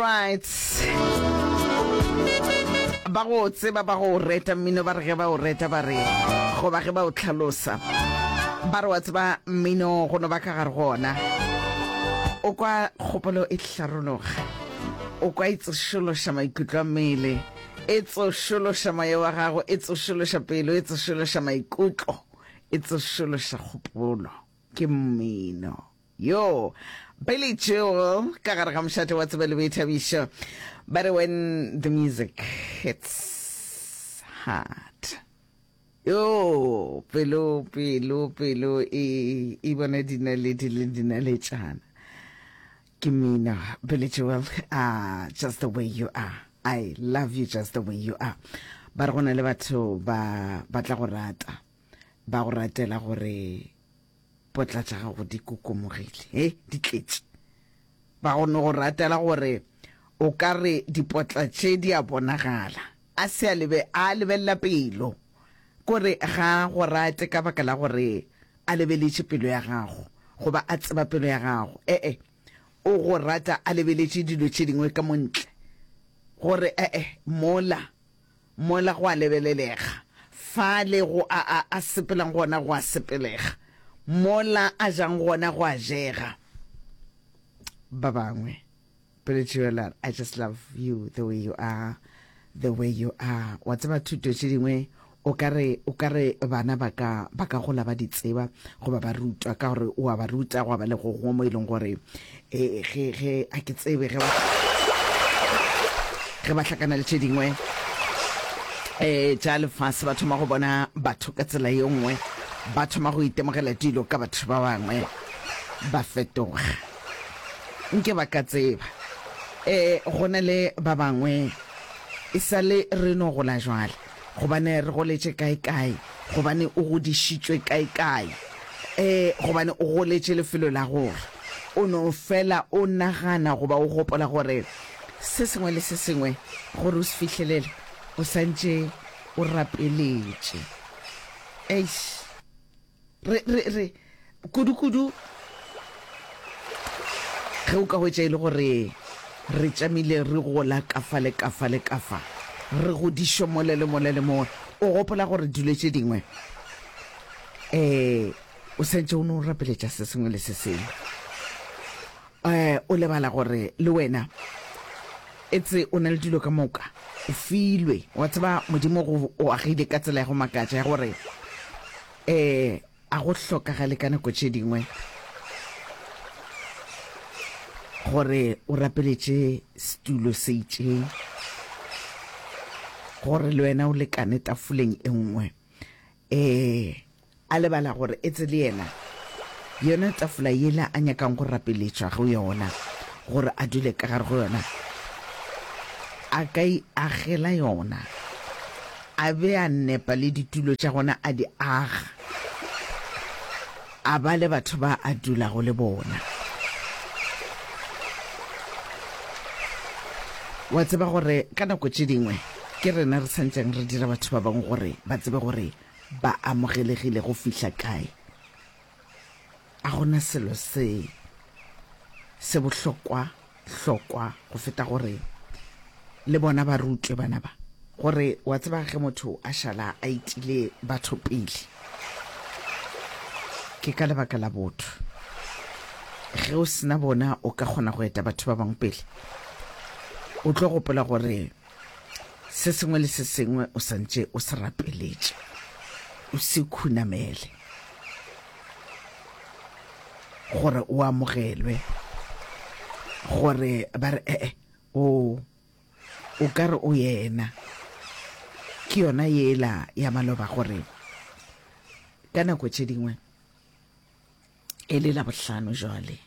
Alright. Ba go tseba ba go reta mmino ba re ge ba o reta ba re goba ge ba o tlhalosa ba re wa tseba mmino go no ba ka gare gona o kwa kgopolo e hlarologa o kwa e tsošološa maikutlo a mmele e tsošološa moya wa gago e tsošološa pelo e tsošološa maikutlo e tsošološa kgopolo ke mmino Yo, Billy Joel ka gare ga mošate wa tsebo le boithabišo. Ba re when the music hits hard. Yo, pelo, pelo, pelo e, e bona dinaledi le dinaletšana. Ke mmino, Billy Joel, ah, just the way you are. I love you just the way you are. Ba re go na le batho ba ba tla go rata, ba go ratela gore potla tša gago di kokomogile, he, di tletše. Ba go no go ratela gore o ka re dipotla tše di a bonagala. A se a lebe, a lebelela pelo. Kore ga a go rate ka baka la gore a lebeletše pelo ya gago, goba a tseba pelo ya gago. E-e, o go rata a lebeletše dilo tše dingwe ka mo ntle, gore, e-e, mola Mola go a lebelelega, fale go a, a, a sepelang gona go a sepelega, mola a jang gona go a jega. Ba bangwe, Billy Joel, I just love you the way you are, the way you are. Wa tseba thuto tše dingwe o ka re, o ka re bana ba ka, ba ka gola ba di tseba goba ba rutwa ka gore o a ba ruta gwa ba le go gongwe mo e leng gore e, ge, ge, a ke tsebe ge ba, ge ba hlakana le tše dingwe um tša lefase, ba thoma go bona batho ka tsela ye nngwe, ba thoma go itemogela dilo ka batho ba bangwe, ba fetoga. Nke ba ka tseba. Um go na le ba bangwe e sa le re no gola jwale. Gobane re goletše kae-kae, gobane o godišitšwe kae-kae, ee, gobane o goletše lefelo la gore o no fela o nagana goba o gopola gore se sengwe le se sengwe gore o se fihlelele o santše o rapeletše. Eish. Re, re, re, kudu-kudu ge o ka hwetša e le gore re tšamile re gola ka fa le ka fa le ka fa, re godišwa mola le mola le mola, o gopola gore dilo tše dingwe um o santše o no rapeletša se sengwe le se sengwe, um o lebala gore le wena etse o na le dilo ka moka, o filwe. Wa tseba, Modimo go o agile ka tsela ya go makatša ya gore um a go hlokagale ka nako tše dingwe gore o rapeletše setulo se itšeng gore le wena o lekane tafoleng e nngwe. Um A lebala gore etse le yena yona tafola yela a nyakang go rapeletšwa go yona, gore a dule ka gare go yona, a ka e agela yona, a be a nepa le ditulo tša gona a di aga, a ba le batho ba a dulago le bona. Wa tseba gore ka nako tše dingwe ke rena re santšeng re dira batho ba bangwe gore ba tsebe gore ba amogelegile go fihla kae. A go na selo se se bohlokwa hlokwa go feta gore le bona ba rutwe bana ba gore wa tseba ge motho a šala a itile batho pele ke ka lebaka la botho. Ge o sena bona o ka kgona go eta batho ba bangwe pele. O tlo gopola gore Se sengwe le se sengwe o santše o se rapeletše, o se khunamele gore o amogelwe, gore ba re ee, o o ka re o yena. Ke yona yela ya maloba gore ka nako tše dingwe e le Labohlano jwale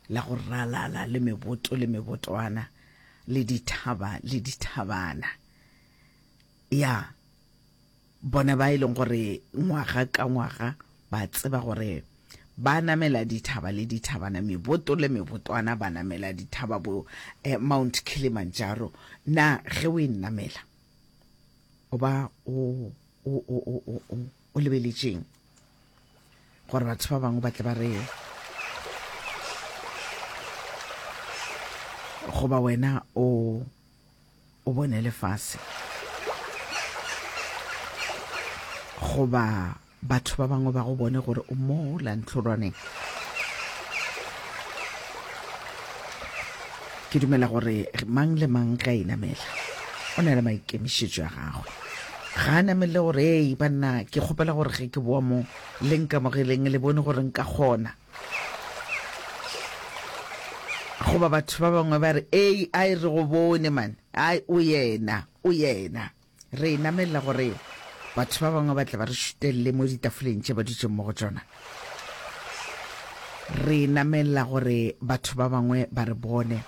la go ralala le meboto le mebotwana le dithaba le dithabana. Ya, bona ba e leng gore ngwaga ka ngwaga ba tseba gore ba namela dithaba le dithabana, meboto le mebotwana, ba namela dithaba bo eh, Mount Kilimanjaro. Na ge o e namela o ba o o o o o o lebeletšeng? Gore batho ba bangwe ba tle ba re. Goba wena o o bone lefase? Goba batho ba bangwe ba go bone gore o mola ntlhorwaneng? Ke dumela gore mang le mang ge a inamela o na le maikemišetšo a gagwe. Ga a namelele gore, Ei, banna, ke kgopela gore ge ke boa mo le nkamogeleng le bone gore nka kgona. Goba batho ba bangwe ba re, Ei, ai, re go bone, man. Ai, o yena, o yena. Re e namelela gore batho ba bangwe ba tle ba re šutelele mo ditafoleng tše ba dutšeng mo go tšona. Re e namelela gore batho ba bangwe ba re bone,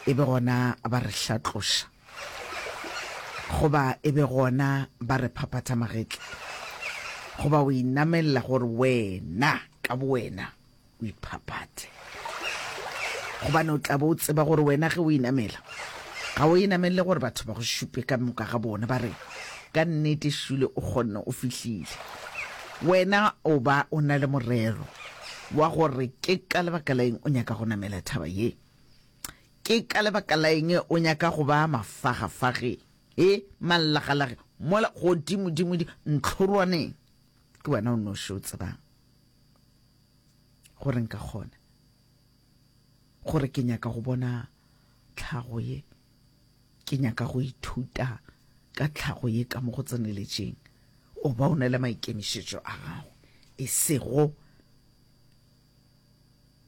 e be gona ba re hlatloša, goba e be gona ba re phaphatha magetla, goba o inamelela gore wena ka bowena o iphaphathe. Gobane o tla be o tseba gore wena ge o inamela, ga o inamelele gore batho ba go šupe ka moka ga bona ba re, Ka nnete Shule o kgonne, o fihlile. Wena o ba o na le morero wa gore ke ka lebaka la eng o nyaka go namela thaba ye. Ke ka lebaka la eng o nyaka go ba mafagafageng, e, mallagalageng, mola godimodimodimo ntlhorwaneng? Ke wena o noši o tsebang. Gore nka kgona, gore ke nyaka go bona tlhago ye, ke nyaka go ithuta ka tlhago ye ka mo go tseneletšeng. O ba o na le maikemišetšo a gago, e sego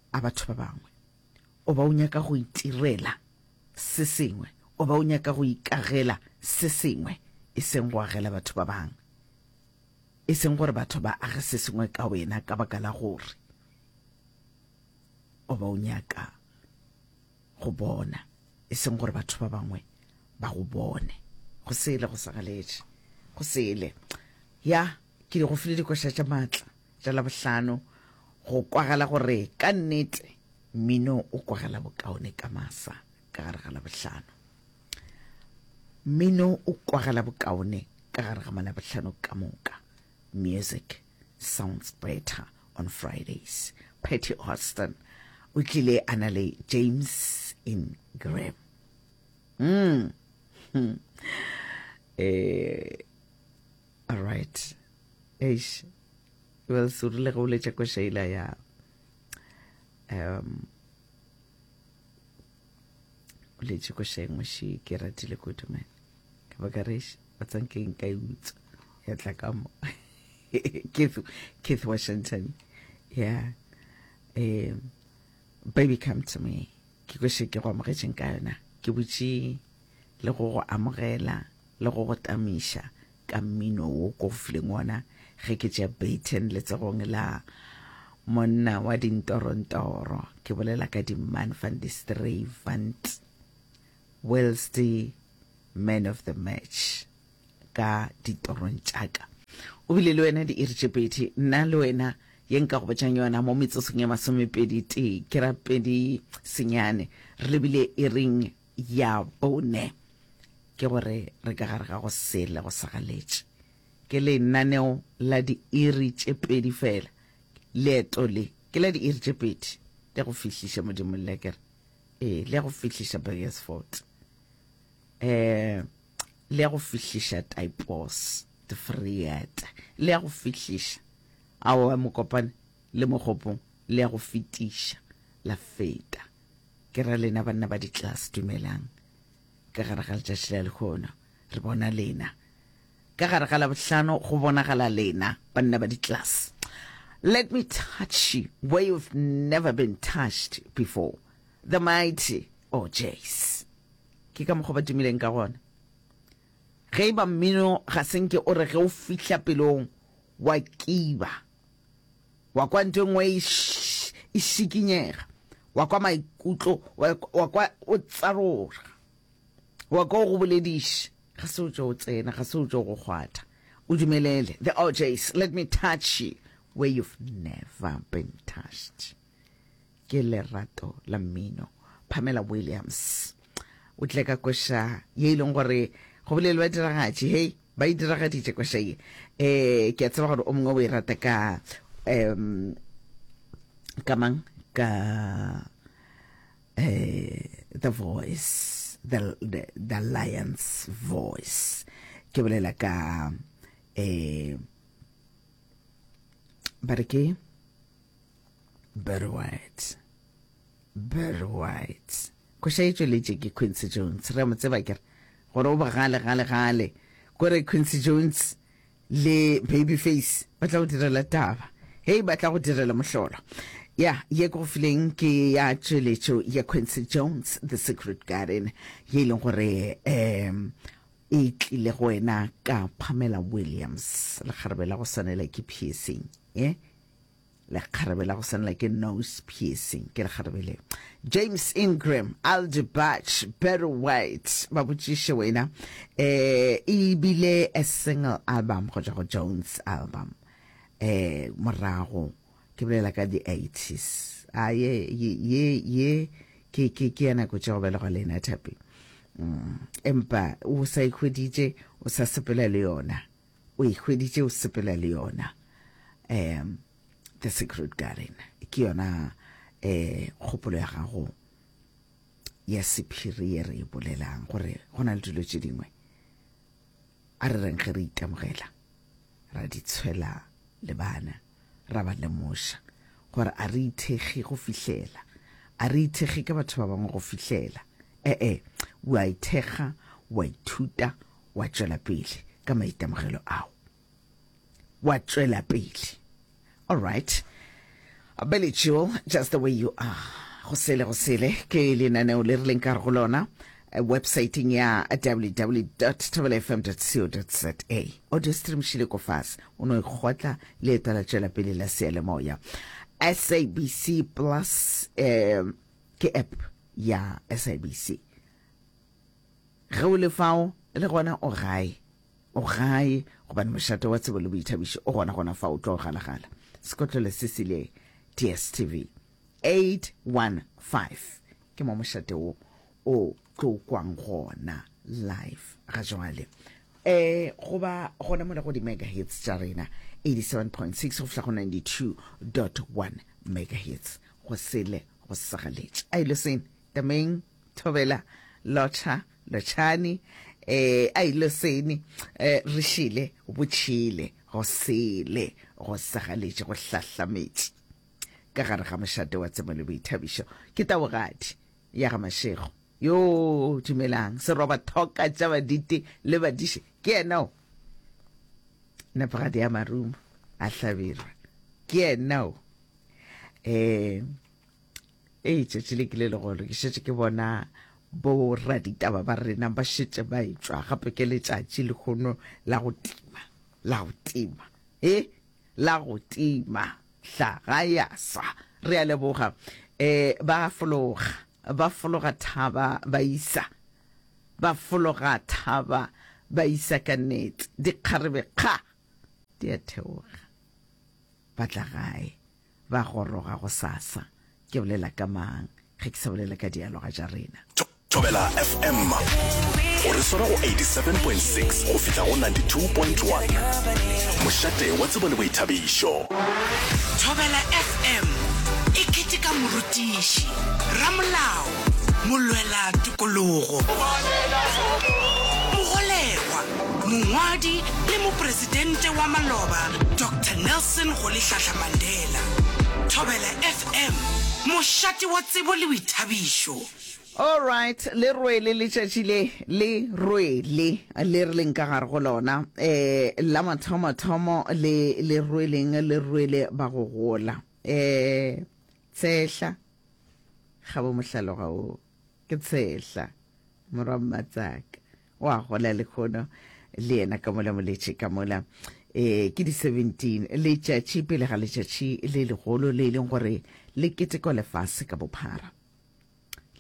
a batho ba bangwe. O ba o nyaka go itirela se sengwe, o ba o nyaka go ikagela se sengwe, e seng go agela batho ba bangwe. E seng gore batho ba age se sengwe ka wena ka baka la gore o ba o nyaka go bona, e seng gore batho ba bangwe ba go bone. Go sele go sa galetše, go sele. Ya, ke di go file dikoša tša maatla tša Labohlano go kwagala gore ka nnete mmino o kwagala bokaone ka masa ka gare ga Labohlano. Mmino o kwagala bokaone ka gare ga Malabohlano ka moka. Music sounds better on Fridays. Patty Austin o tlile a na le James Ingram. Mm. Hmm. Eh, all right. Eish. Well, se rile ge o letša koša ela ya um o letše koša engwe še ke ratile kudu man ka baka reš ba tsanke nka e utswa ya tla ka mo Keith, Keith Washington yeah um baby come to me ke koše ke go amogetšeng ka yona ke butše le go go amogela le go go tamiša ka mmino wo ko go fileng wona ge ke tšea Baton letsogong la monna wa dintorontoro, ke bolela ka di-Man van die Strayvant, whilst man of the match ka ditorong tšaka. O bile le wena diiri tše pedi, nna le wena ye nka go botšang yona mo metsotsong ye masomepedi tee, ke ra pedi senyane, re lebile iring ya bone. Ke gore re ka gare ga go sele go sagaletše. Ke lenaneo la diiri tše pedi fela. Leeto le ke la diiri tše pedi le go fihliša Modimo le ke re. Ee, le go fihliša Beresford. Eh, le go fihliša Typos, de Vrede. Le go fihliša aowa Mokopane le Mogopong le go fetiša la feta. Ke ra lena banna ba di-class dumelang. Ka gare ga letšatši la lehono re bona lena. Ka gare ga Labohlano go bonagala lena banna ba di-class. Let me touch you where you've never been touched before. The mighty O'Jays. Ke ka mokgwa ba tumileng ka gona. Ge e ba mmino ga se nke o re ge o fihla pelong wa kiba, wa kwa ntho e nngwe e, e šikinyega, wa kwa maikutlo, wa, wa kwa o tsaroga, wa kwa o go bolediša, ga se o tšo o tsena, ga se o tšo go kgwatha. O dumelele. The O'Jays, let me touch you where you've never been touched. Ke lerato la mmino. Pamela Williams o tle ka koša ye e leng gore go bolele ba diragatše, hei, ba e diragaditše koša ye. Eh, ke a tseba gore o mongwe o e rata ka um ka mang ka eh. The Voice, the, the, the Lion's Voice. Ke bolela ka eh ba re ke Barry White. Barry White. Koša e tšweletše ke Quincy Jones. Re a mo tseba ke re gore o bogale gale gale. Kore Quincy Jones le Babyface ba tla go direla taba. Hei ba tla go direla mohlolo. Ya, ye ke go fileng ke ya tšweletšo ya Quincy Jones, The Secret Garden, ye e leng gore um e tlile go wena ka Pamela Williams, lekgarebe la go swanela ke piercing, ye. Lekgarebe la go swanela ke nose piercing, ke lekgarebe le. James Ingram, Aldi Butch, Barry White, ba botšiše wena. Eh, e bile a single album go tšwa go Jones album. Eh, morago ke bolela ka di 80s. A ye ye ye ye ke ke ke ya nako tša go belegwa lena thapi. Mm, empa o sa ikhweditše o sa sepela le yona. O e hweditše o sepela le yona. Um The Secret Garden ke yona um kgopolo ya gago ya sephiri ye re e bolelang gore go na le dilo tše dingwe a re reng ge re itemogela ra di tshwela le bana ra ba lemoša gore a re ithekge go fihlela a re ithekge ka batho ba bangwe go fihlela ee wa ithekga wa ithuta wa tšwela pele ka maitemogelo ao wa tšwela pele all right Billy Joel just the way you are go sele go sele ke lenaneo le re leng ka go lona eh, websiteng ya www.thobelafm.co.za audio stream šile ko fase o no ikgotla leeto la tšwela pele la seyalemoya sabc plus eh, ke app ya sabc Ge o le fao, le gona o gae. O gae, gobane mošate wa tsebo le boithabišo o gona gona fao o tlo galagala. Sekotlelo se se le DSTV 815 ke mo mošate wo o tlo kwang gona live ga jwale. E goba gona mola go di megahertz tša rena 87.6 go fihla go 92.1 megahertz go sele go sagaletše. A ile sene tameng Thobela, Lotšha, Lotšhani, eh, a ile sene, eh, re šile, botšhile, go sele, go sagaletše, go hlahlametše ka gare ga mošate wa tsebo le boithabišo. Ke taogadi ya ga Mashego. Yo, dumelang, seroba thoka tša baditi le badiši, ke yena o. Nepagadi ya marumo a hlabirwa, ke yena o. Eh, Ee, tšatši le ke le legolo. Ke šetše ke bona boraditaba ba rena ba šetše ba etšwa gape ke letšatši lehono la go tima, la go tima, e la go tima hlaga ya swa. Re a leboga. E, ba fologa, ba fologa thaba ba isa, ba fologa thaba ba isa ka nnete. Dikgarebe kga di a theoga, ba tla gae. Ba goroga gosasa. Ke bolela ka mang ge ke sa bolele ka dialoga tša rena? Thobela FM o re swara go 87.6 go fihla go 92.1. Mošate wa tsebo le boithabišo. Thobela FM e keteka morutiši, ramolao, molwela tokologo, mogolegwa, Mongwadi le Mopresidente wa maloba Doctor Nelson Rolihlahla Mandela. Thobela FM, mošate wa tsebo le boithabišo. Alright, le rwele letšatši le, le rwele le re leng ka gare go lona. Eh, la mathomothomo le le rweleng, le rwele ba go gola. Eh, tshehla, ga bo mohlaloga wo, ke tshehla, morwa Mmatsaka. O a gola lehono le yena ka mola moletše ka mola. E, ke di 17 letšatši pele ga letšatši le legolo le e leng gore le ketekwa lefase ka bophara.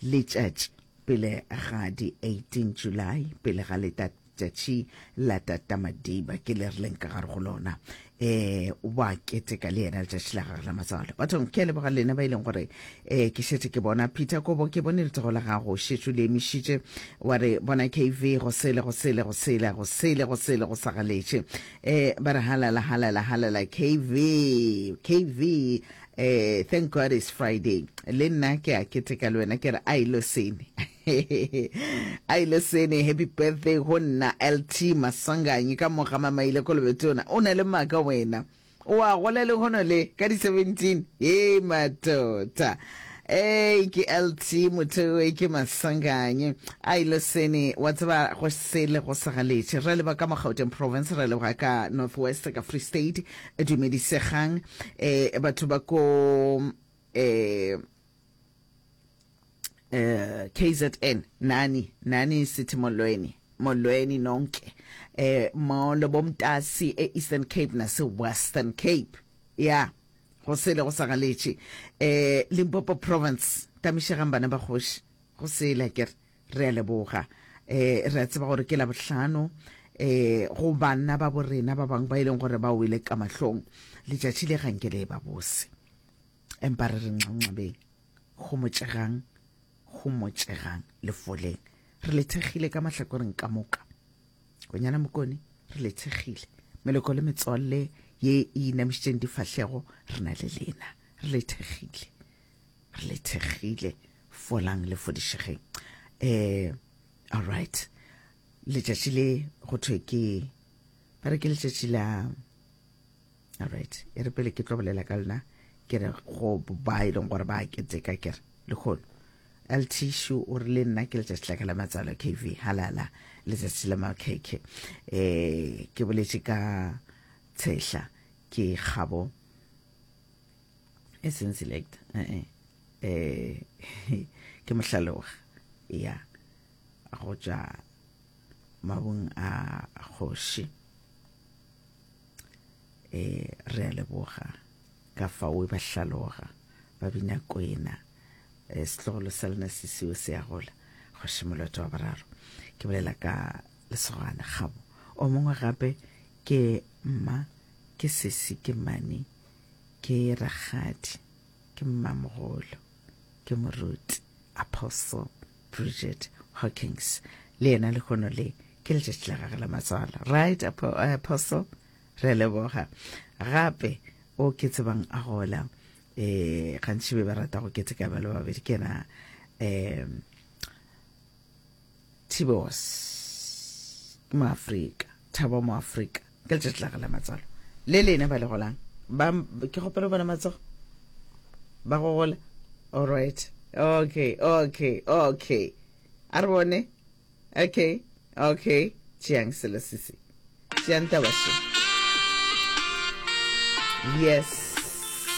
Letšatši pele ga di 18 July pele ga letšatši la Tata Madiba ke le re leng ka gare go lona. Eh wa keteka le yena letšatši la gagwe la matswalo. Bathong ke a leboga lena ba e leng gore eh ke šetše ke bona Peter Kobo ke bone letsogo la gago šetše le emišitše wa re bona KV go sele go sele go sele go sele go sele go sagaletše eh ba re halala halala halala KV KV eh thank God it's Friday le nna ke a keteka le wena ke re a ilo sene. A ile sene happy birthday go nna LT Masanganyi ka mo ga Mamaile Kolobetona. O na le maaka wena. O a gola lehono le ka di 17. Hei matota. Ei ke LT motho e ke Masanganyi. A ile sene wa tseba go sele go sa galetše. Re leba ka mo Gauteng province, re leboga ka North West ka Free State. Dumedisegang eh batho ba ko eh eh KZN nani nani sithi molweni molweni nonke eh molo bomtasi e Eastern Cape nase Western Cape ya go sele go sa galetše eh Limpopo province tamišegang bana ba kgoši go sele ke re a leboga eh re a tseba gore ke la bohlano eh go banna ba borena ba bangwe ba e leng gore ba wele ka mahlong letšatši le ganke le ba bose empa re re nxanxabeng homotšegang homotšegang le foleng re le thekgile ka mahlakoreng ka moka konyana mokone re le thekgile meloko le metswalle ye e inamišitšeng difahlego re na le lena re le thekgile re le thekgile folang le fodišegeng um all right letšatši le go thwe ke ba re ke letšatši la Alright, e re pele ke tlo bolela ka lena ke re go ba e leng gore ba keteka ke re lekgono LT Shu o re le nna ke letšatši la ka la matswalo KV halala letšatši la makhekhe eh ke boletše ka tshehla ke kgabo e seng select eh eh ke mohlaloga ya go tšwa mabung a kgoši E, re a leboga ka fao ba hlaloga ba bina kwena. E, setlogolo sa lena se seo se a gola. Kgoši Moloto wa boraro. Ke bolela ka lesogana Kgabo. O mongwe gape ke mma, ke sesi, ke mane, ke rakgadi, ke mmamogolo, ke moruti, Apostle Bridget Hawkins. Le yena lehono le ke letšatši la gage la matswalo. Right, Apostle? Re a leboga. Gape o ke tsebang a gola eh gantši be ba rata go keteka ba le babedi ke yena um Tibos ke moafrika Thabo moafrika ke letšatši la gage la matswalo le lena ba le golang ba ke kgopela go bona matsogo ba go gola all right okay okay okay a re bone Okay, okay, tšeang selo se se. Tšeang taba še. Yes.